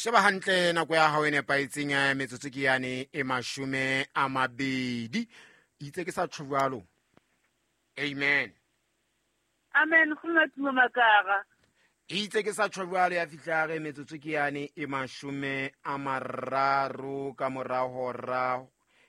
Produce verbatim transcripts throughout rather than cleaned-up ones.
Sheba hantle nako ya hao e nepahetseng, eh, metsotso ke yane e mashome a mabedi. Itse ke sa tjho jwalo. Amen. Amen, go nna Tumo Makara. Itse ke sa tjho jwalo ya fihla re metsotso ke yane e mashome a mararo ka mora hora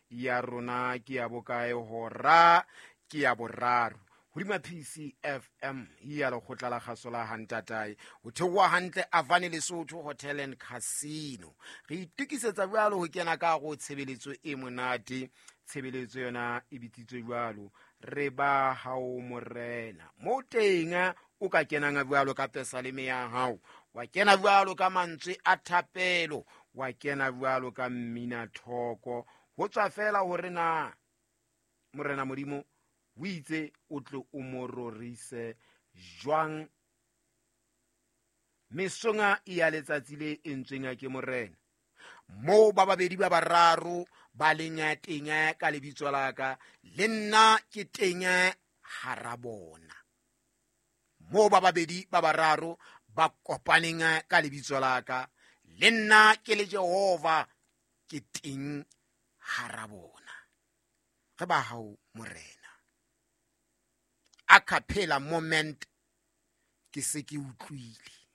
ya rona ke ya bokae, hora ke ya boraro. Hodima P C F M ya lekgotla la kgaso la Hantatae. Ho theoha hantle Avani Lesotho Hotel and Casino. Re itokisetsa jwalo ho kena ka hare ho tshebeletso e monate. Tshebeletso yona e bitsitswe jwalo re ba hao morena. Mo teng o ka kenang jwalo ka pesaleme ya hao, wa kena jwalo ka mantswe a thapelo, wa kena jwalo ka mmina thoko. Ho tswa fela hore na Morena Modimo o itse o tle o mo rorise jwang mesonga ya letsatsi le entsweng ke Morena. Moo ba babedi ba bararo ba leng teng ka lebitso la ka, le nna ke teng hara bona. Moo ba babedi ba bararo ba kopaneng ka lebitso la ka, le nna ke le Jehova ke teng hara bona. Re ba hao Morena. A cappella moment ke se ke utlwile.